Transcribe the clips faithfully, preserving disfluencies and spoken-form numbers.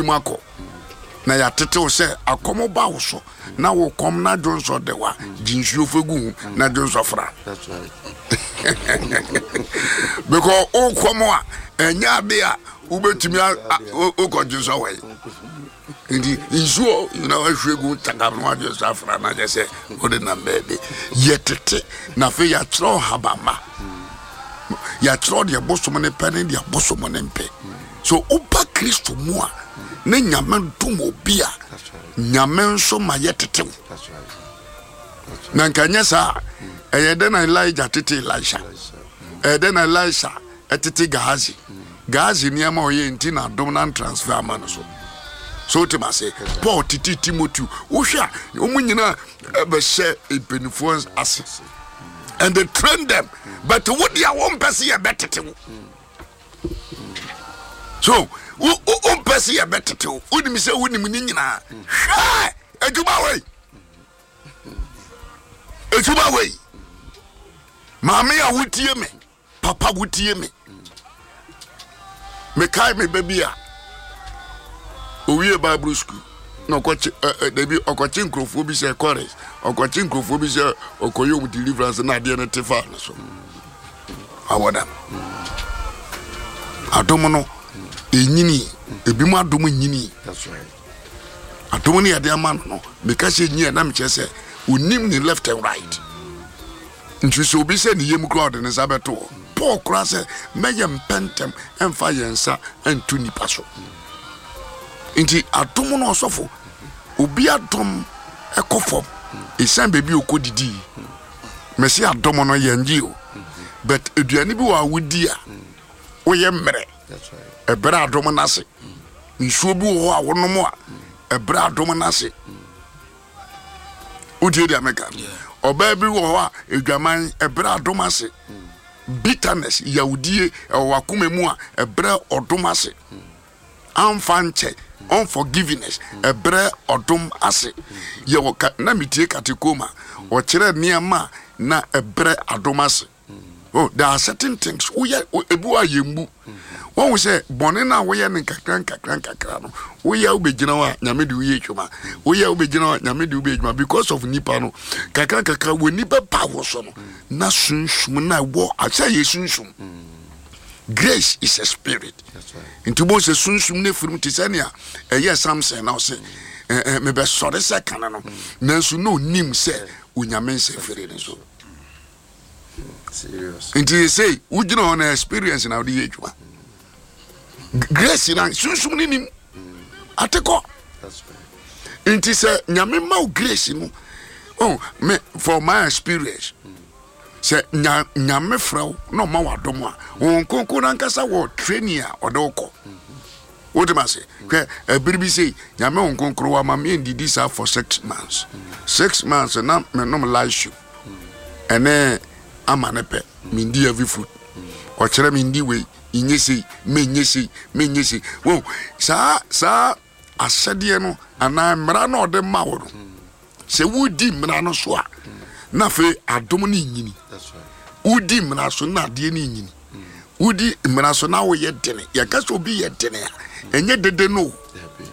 mu akɔ na yɛatetew sɛ akɔm ba wo so na wo kɔm na dwonsɔ de wa gye nsuo fa gu ho na dwonsɔ fra. That's right. Because wo kɔm a, ɛnyɛ ade a wobɛtumi wokɔ dwonsɔ wɔ yi, nti nsuo na wahwie gu takam na wadwonsɔ afra na kyɛ sɛ wode nam baabi. Yɛtete na afei yɛakyerɛw habama, yɛakyerɛw deɛ bosom ne pɛ ne deɛ bosom ne mpɛ. So woba Kristo mu a, ne Nyame dom obi a, That's right. Nyame nso ma yɛtetew. That's right. Na nka nyɛ saa, ɛyɛ dɛ na Elijah tete Elisha, ɛyɛ dɛ na Elisha ɛtete Gehazi. Gehazi nneɛma a ɔyɛ nti na adom na transfer ama no so. So wotem ase, Paul tete Timoteo. Wohwɛ a, wɔn nyinaa ɛbɛhyɛ mpanimfoɔ ase and they train them, but wo deɛ, wompɛ sɛ yɛbɛtete wo so wo wo- wompɛ sɛ yɛbɛtete wo. Wonim sɛ wonim ne nyinaa. Hwɛ adwuma wei, adwuma wei, maame a wotie me, papa wotie me, mekae me ba bi a owie Bible school na ɔkɔkye ɛ ɛ dabi, ɔkɔkye nkurɔfoɔ bi sɛ chorus, ɔkɔkye nkurɔfoɔ bi sɛ ɔkɔyɛ ɔmo deliverance na adeɛ no te fa no so awɔ dam. Adom no ɛnyini, ebi mu adom nyini. That's right. Adom no yɛde ama no no meka sɛ nyi a, na mekyerɛ sɛ onim ne left and right. Nti sɛ obi sɛ ne yam koraa, ɔde ne nsa bɛto hɔ. Paul koraa sɛ mɛyɛ mpɛntɛm ɛmfa yɛn nsa ɛnto nipa so. Nti adom no, ɔsɔfo, obi adom ɛkɔ fam ɛsiane baabi a ɔkɔ didii. Mɛsi adom no yɛngye o, but aduane bi wɔ a wodi a woyɛ mmerɛ. That's right. Ɛbrɛ adom no ase. Nsuo bi wɔ hɔ a wonom a, ɛbrɛ adom no ase. Wotie deɛ meka? Ɔbaa bi wɔ hɔ a adwaman, ɛbrɛ adom ase. Bitterness, yawdie ɛwɔ wakoma mu a, ɛbrɛ ɔdom ase. Amfa nkyɛ, unforgiveness, ɛbrɛ ɔdom ase. Yɛwɔ ka na metie katekoma, ɔkyerɛ nneɛma a na ɛbrɛ adom ase. Oh, there are certain things woyɛ, ebi wɔ a yɛmbu wɔn sɛ bɔne no a woyɛ no nkakra nkakra nkakra no, woyɛ, wobɛgyina hɔ a, Nyame de woyɛ adwuma. Woyɛ, wobɛgyina hɔ a, Nyame de wobɛyɛ adwuma because of nipa no kakra nkakra wɔ nipa ba wɔ so no na sunsum na ɛwɔ asɛ yɛ sunsum. Grace is a spirit. That's right. Nti wobɛhu sɛ sunsum no afirim te sɛ nea ɛyɛ Samson na ɔsɛ ɛ, ɛ, mebɛsɔre sɛ kane no, nanso na onim sɛ Onyame nsɛ firi ne so. Serious. Nti sɛ wogyina hɔ na experience na wode yɛ adwuma, grace na sunsum no nim atekɔ. That's right. Nti sɛ Nyame ma wo grace no, oh, me, for my experience, sɛ nya, Nyame frɛ wo na ɔma wo adom a, wɔn nkonko no ankasa wɔ training a ɔde wo kɔ. Wote ma se hwɛ, ɛbere bi sei Nyame wo nkonkoro wama me ndidi saa for six months. Six months na menom light soup ɛne ama ne pɛ, mendi heavy food. Ɔkyerɛ mendi wei, nyɛ sei, menyɛ sei, menyɛ sei. Wo saa saa ahyɛdeɛ no anaa mmara no a ɔde ma wo no, sɛ wodi mmara no so a, na afei adom no nyini. That's right. Wodi mmara so na adeɛ no nyini. Wodi mmara so na woyɛ dene. Yɛka sɛ obi yɛ dene a, ɛnyɛ dede no o. Happy.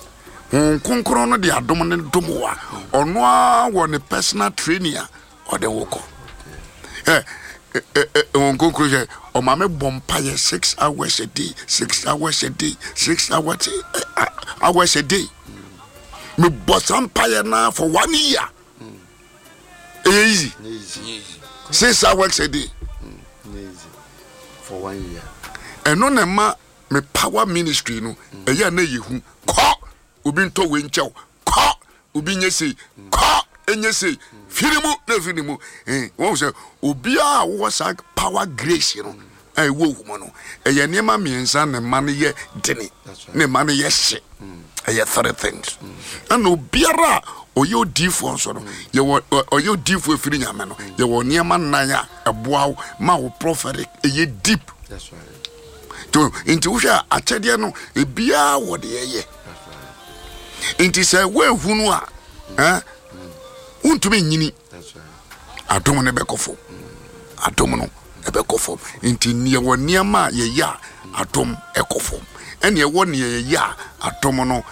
Honhom Kronkron no de adom no dom wo a, ɔno ara wɔ ne personal training a ɔde wo kɔ. ɛ ɛ ɛ Honhom Kronkron sɛ ɔma me bɔ mpayɛ six hours a day, six hours a day, six hours ɛ, hours a day. Mebɔ saa mpayɛ naa for one year. Ɛyɛ easy? Easy. Six hours a day. Easy. For one year. Ɛno na ɛma me power ministry no ɛyɛ a na yɛ hu. Kɔ, obi ntɔ wei nkyɛw, kɔ, obi nye sei, kɔ, enye sei, firi mu na efiri ne mu. Ɛn wɔn sɛ obiara a wɔwɔ saa power grace no a ɛwɔ owu mu no, ɛyɛ nneɛma mmiɛnsa na ɛma no yɛ dene. That's right. Na ɛma no yɛ hye. Ɛyɛ three things. Ɛna obiara a ɔyɛ odiifoɔ nso no, yɛwɔ ɔ- ɔyɛ odiifoɔ efiri Nyame no, yɛwɔ nneɛma nnan a ɛboa wo ma wo prophetic ɛyɛ deep. That's right. To nti wohwɛ a, akyɛdeɛ no ebiara wɔ deɛ ɛyɛ. That's right. Nti sɛ woehunu a, ɛn wontumi nyini. That's right. Adom no bɛkɔ fam, adom no ɛbɛkɔ fam. Nti neɛ wɔ nneɛma a yɛyɛ a adom ɛkɔ fam, ɛne ɛwɔ neɛ yɛyɛ a adom no